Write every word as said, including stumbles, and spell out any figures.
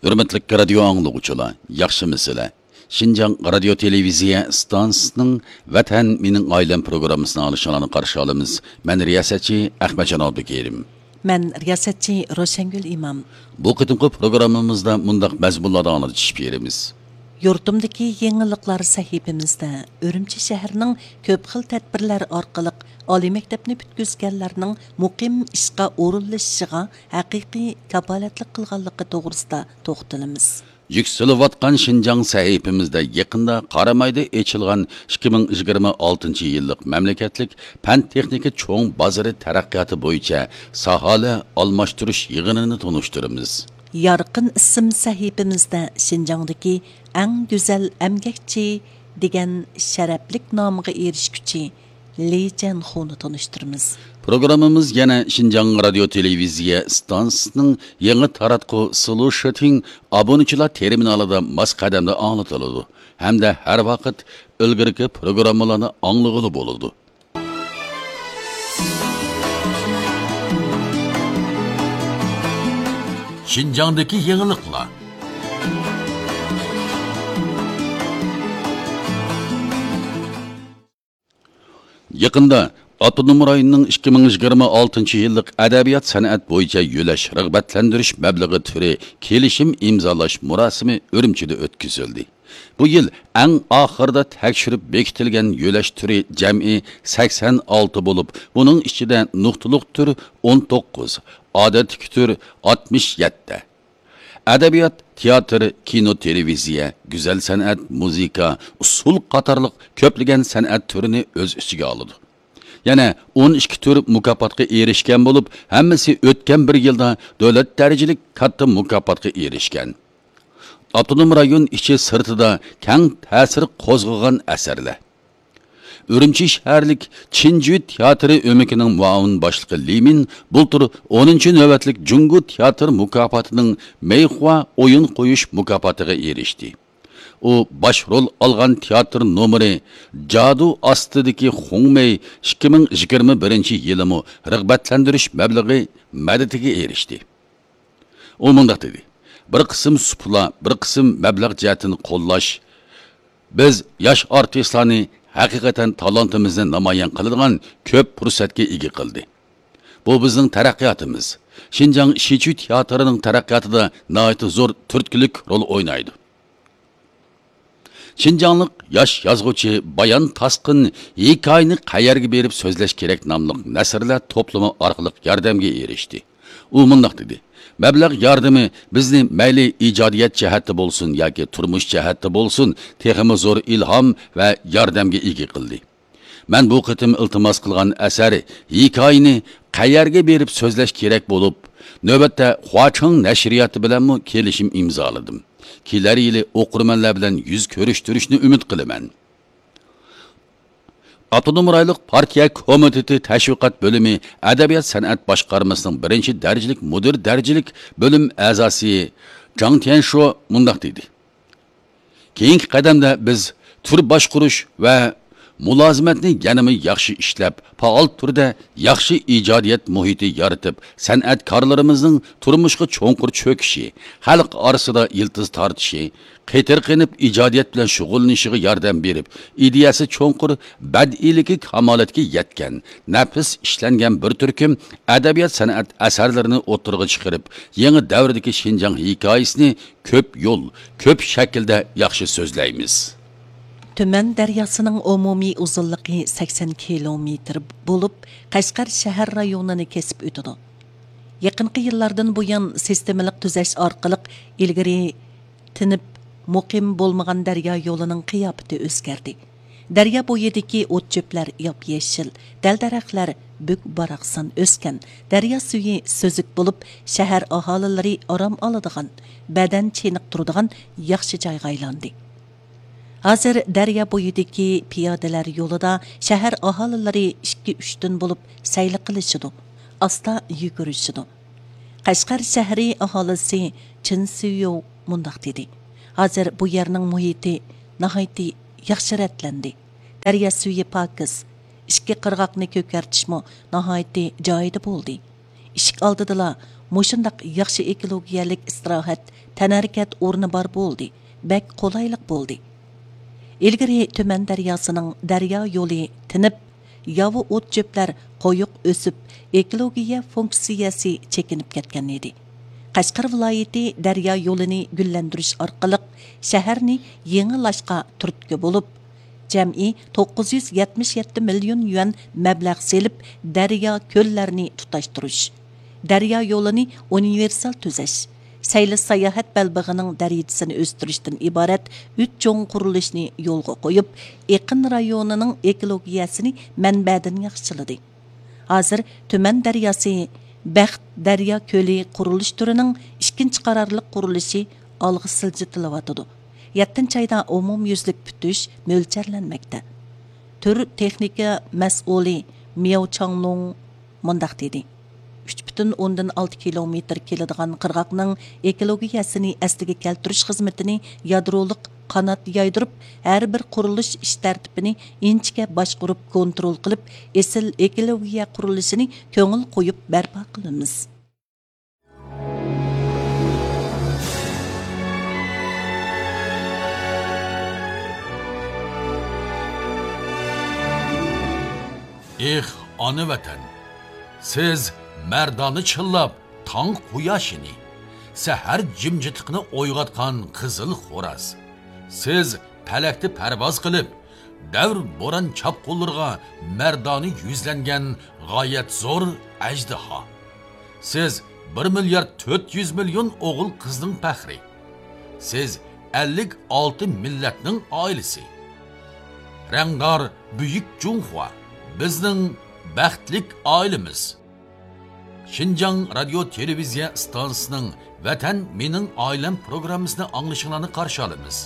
ھۆرمەتلىك رادىيو ئاڭلىغۇچىلار، ياخشىمۇسىلەر؟ شىنجاڭ رادىيو تېلېۋىزىيە ئىستانسىسىنىڭ ۋەتەن مېنىڭ ئائىلەم پروگراممىسىنى ئاڭلىشىڭلارنى قارشى ئالىمىز. مەن رىياسەتچى ئەخمەتجان ئابدۇكېرىم. مەن رىياسەتچى روشەنگۈل ئىمام. بۇ قېتىمقى پروگراممىمىزدا مۇنداق مەزمۇنلاردا ئاڭلىتىش بېرىمىز. يۇرتۇمدىكى يېڭىلىقلار سەھىپىمىزدە ئۈرۈمچى شەھىرىنىڭ كۆپ خىل تەدبىرلەر ئارقىلىق ئالىي مەكتەپنى پۈتكۈزگەنلەرنىڭ مۇقىم ئىشقا ئورۇنلىشىشىغا ھەقىقىي كاپالەتلىك قىلغانلىقى توغرىسىدا توختىلىمىز. يۈكسىلىۋاتقان شىنجاڭ سەھىپىمىزدە يېقىندا قارامايدا ئېچىلغان ئىككى مىڭ يىگىرمە ئالتىنچى يىللىق مەملىكەتلىك پەن تېخنىكا چوڭ بازىرى تەرەققىياتى بويىچە ساھەلەر ئالماشتۇرۇش يىغىنىنى تونۇشتۇرىمىز. يارقىن ئىسىم سەھىپىمىزدە شىنجاڭدىكى ئەڭ گۈزەل ئەمگەكچى دېگەن شەرەپلىك نامغا ئېرىشكۈچى لى جەنخۇنى تونۇشتۇرىمىز. پروگراممىمىز يەنە شىنجاڭ رادىيو تېلېۋىزىيە ئىستانسىسىنىڭ يېڭى تاراتقۇ سلۇشىتىڭ ئابۇنىچىلار تېرمىنالىدا ماس قەدەمدە ئاڭلىتىلىدۇ ھەمدە ھەر ۋاقىت ئىلگىرىكى پروگراممىلارنى ئاڭلىغىلى بولىدۇ. شىنجاڭدىكى يېڭىلىقلار. يېقىندا ئاپتونوم رايوننىڭ ئىككى مىڭ يىگىرمە ئالتىنچى يىللىق ئەدەبىيات سەنئەت بويىچە يۆلەش رىغبەتلەندۈرۈش مەبلىغى تۈرى كېلىشىم ئىمزالاش مۇراسىمى ئۈرۈمچىدە ئۆتكۈزۈلدى. بۇ يىل ئەڭ ئاخىرىدا تەكشۈرۈپ بېكىتىلگەن يۆلەش تۈرى جەمئىي سەكسەن ئالتە بولۇپ، بۇنىڭ ئىچىدە نۇقتىلىق تۈر ئون توققۇز، ئادەتتىكى تۈر ئاتمىش يەتتە. ئەدەبىيات، تىياتىر، كىنو، تېلېۋىزىيە، گۈزەل سەنئەت، مۇزىكا، ئۇسسۇل قاتارلىق كۆپلىگەن سەنئەت تۈرىنى ئۆز ئىچىگە ئالىدۇ. يەنە ئون ئىككى تۈر مۇكاپاتقا ئېرىشكەن بولۇپ، ھەممىسى ئۆتكەن بىر يىلدا دۆلەت دەرىجىلىك كاتتا مۇكاپاتقا ئېرىشكەن. ئاپتونوم رايون ئىچى سىرتىدا كەڭ تەسىر قوزغىغان ئەسەرلەر. ئۈرۈمچى شەھەرلىك چىنجۈ تىياتىرى ئۆمىكىنىڭ مۇئاۋىن باشلىقى لى مىن بۇلتۇر ئونىنچى نۆۋەتلىك جۇڭگو تىياتىر مۇكاپاتىنىڭ مەيخۇا ئويۇن قويۇش مۇكاپاتىغا ئېرىشتى. ئۇ باش رول ئالغان تىياتىر نومۇرى جادۇ ئاستىدىكى خۇڭمېي ئىككى مىڭ يىگىرمە بىرىنچى يىلىمۇ رىغبەتلەندۈرۈش مەبلىغى مەدىتىگە ئېرىشتى. ئۇ مۇنداق دېدى: «بىر قىسىم سۇپىلار، بىر قىسىم مەبلەغ جەھەتتىن قوللاش بىز ياش ئارتىسلارنى ھەقىقەتەن تالانتىمىزنى نامايان قىلىدىغان كۆپ پۇرسەتكە ئىگە قىلدى. بۇ بىزنىڭ تەرەققىياتىمىز، شىنجاڭ شىچۈ تىياتىرىنىڭ تەرەققىياتىدا ناھايىتى زور تۈرتكىلىك رول ئوينايدۇ.» شىنجاڭلىق ياش يازغۇچى بايان تاسقىن ھېكايىنى قەيەرگە بېرىپ سۆزلەش كېرەك ناملىق نەسرلەر توپلىمى ئارقىلىق ياردەمگە ئېرىشتى. ئۇ مۇنداق دېدى: «مەبلەغ ياردىمى بىزنى مەيلى ئىجادىيەت جەھەتتە بولسۇن ياكى تۇرمۇش جەھەتتە بولسۇن، تېخىمۇ زور ئىلھام ۋە ياردەمگە ئىگە قىلدى. مەن بۇ قېتىم ئىلتىماس قىلغان ئەسەر ھېكايىنى قەيەرگە بېرىپ سۆزلەش كېرەك بولۇپ، نۆۋەتتە خۇاچىڭ نەشرىياتى بىلەنمۇ كېلىشىم ئىمزالىدىم. كېلەر يىلى ئوقۇرمەنلەر بىلەن يۈز كۆرۈشتۈرۈشنى ئۈمىد قىلىمەن.» ئاپتونوم رايونلۇق پارتىيە كومىتېتى تەشۋىقات بۆلۈمى ئەدەبىيات سەنئەت باشقارمىسىنىڭ بىرىنچى دەرىجىلىك مۇدىر دەرىجىلىك بۆلۈم ئەزاسى جاڭ تيەنشو مۇنداق دېدى: «كېيىنكى قەدەمدە بىز تۈر باشقۇرۇش ۋە مۇلازىمەتنى يەنىمۇ ياخشى ئىشلەپ، پائال تۈردە ياخشى ئىجادىيەت مۇھىتى يارىتىپ، سەنئەتكارلىرىمىزنىڭ تۇرمۇشقا چوڭقۇر چۆكۈشى، خەلق ئارىسىدا يىلتىز تارتىشى، قېتىرقىنىپ ئىجادىيەت بىلەن شۇغۇللىنىشىغا ياردەم بېرىپ، ئىدىيەسى چوڭقۇر، بەدىئىيلىكى كامالەتكە يەتكەن، نەپىس ئىشلەنگەن بىر تۈركۈم ئەدەبىيات سەنئەت ئەسەرلىرىنى ئوتتۇرىغا چىقىرىپ، يېڭى دەۋردىكى شىنجاڭ ھېكايىسىنى كۆپ يول، كۆپ شەكىلدە ياخشى سۆزلەيمىز.» تۈمەن دەرياسىنىڭ ئومۇمىي ئۇزۇنلۇقى سەكسەن كىلومېتىر بولۇپ، قەشقەر شەھەر رايونىنى كېسىپ ئۆتىدۇ. يېقىنقى يىللاردىن بۇيان سىستېمىلىق تۈزەش ئارقىلىق ئىلگىرى تىنىپ مۇقىم بولمىغان دەريا يولىنىڭ قىياپىتى ئۆزگەردى. دەريا بويىدىكى ئوت-چۆپلەر ياپيېشىل، دەل-دەرەخلەر بۈك-باراقسان ئۆسكەن، دەريا سۈيى سۈزۈك بولۇپ، شەھەر ئاھالىلىرى ئارام ئالىدىغان، بەدەن چېنىقتۇرىدىغان ياخشى جايغا ئايلاندى. ھازىر دەريا بويىدىكى پىيادىلەر يولىدا شەھەر ئاھالىلىرى ئىككى-ئۈچتىن بولۇپ سەيلە قىلىشىدۇ، ئاستا يۈگۈرۈشىدۇ. قەشقەر شەھىرى ئاھالىسى چېن سۈيۈ مۇنداق دېدى: «ھازىر بۇ يەرنىڭ مۇھىتى ناھايىتى ياخشى رەتلەندى. دەريا سۈيى پاكىز، ئىككى قىرغاقنى كۆكەرتىشمۇ ناھايىتى جايىدا بولدى. ئىشىك ئالدىدىلا مۇشۇنداق ياخشى ئېكولوگىيەلىك ئىستىراھەت، تەنھەرىكەت ئورنى بار بولدى، بەك قولايلىق بولدى. ئىلگىرى تۈمەن دەرياسىنىڭ دەريا يولى تىنىپ، ياۋا ئوت چۆپلەر قويۇق ئۆسۈپ، ئېكولوگىيە فۇنكسىيەسى چېكىنىپ كەتكەن ئىدى. قەشقەر ۋىلايىتى دەريا يولىنى گۈللەندۈرۈش ئارقىلىق شەھەرنى يېڭىلاشقا تۈرتكە بولۇپ، جەمئىي توققۇز يۈز يەتمىش يەتتە مىليون يۈەن مەبلەغ سېلىپ، دەريا، كۆللەرنى تۇتاشتۇرۇش، دەريا يولىنى ئۇنىۋېرسال تۈزەش، سەيلە ساياھەت بەلبېغىنىڭ دەرىجىسىنى ئۆستۈرۈشتىن ئىبارەت ئۈچ چوڭ قۇرۇلۇشنى يولغا قويۇپ، ئېقىن رايونىنىڭ ئېكولوگىيەسىنى مەنبەدىن ياخشىلىدى. ھازىر تۈمەن دەرياسى، بەخت دەريا كۆلى قۇرۇلۇش تۈرىنىڭ ئىككىنچى قارارلىق قۇرۇلۇشى ئالغا سىلجىتىلىۋاتىدۇ. يەتتىنچى ئايدا ئومۇميۈزلۈك پۈتۈش مۆلچەرلەنمەكتە. تۈر تېخنىكا مەسئۇلى مياۋ چاڭلۇڭ مۇنداق دېدى: ئۈچ پۈتۈن ئوندىن ئالتە كىلومېتىر كېلىدىغان قىرغاقنىڭ ئېكولوگىيەسىنى ئەسلىگە كەلتۈرۈش خىزمىتىنى يادرولۇق قانات يايدۇرۇپ، ھەر بىر قۇرۇلۇش ئىش تەرتىپىنى ئىنچىكە باشقۇرۇپ، كونترول قىلىپ، ئېسىل ئېكولوگىيە قۇرۇلۇشىنى كۆڭۈل قويۇپ بەرپا قىلىمىز. ئېھ، ئانا ۋەتەن! سىز مەردانە چىللاپ، تاڭ قۇياشىنى، سەھەر جىمجىتلىقىنى ئويغاتقان قىزىل خوراز. سىز پەلەكتە پەرۋاز قىلىپ، دەۋر بوران چاپقۇنلىرىغا مەردانە يۈزلەنگەن غايەت زور ئەجدىھا. سىز بىر مىليارد تۆت يۈز مىليون ئوغۇل قىزنىڭ پەخرى. سىز ئەللىك ئالتە مىللەتنىڭ ئائىلىسى. رەڭدار بۈيۈك جۇڭخۇا، بىزنىڭ بەختلىك ئائىلىمىز. شىنجاڭ رادىيو تېلېۋىزىيە ئىستانسىسىنىڭ ۋەتەن مېنىڭ ئائىلەم پروگراممىسىنى ئاڭلىشىڭلارنى قارشى ئالىمىز.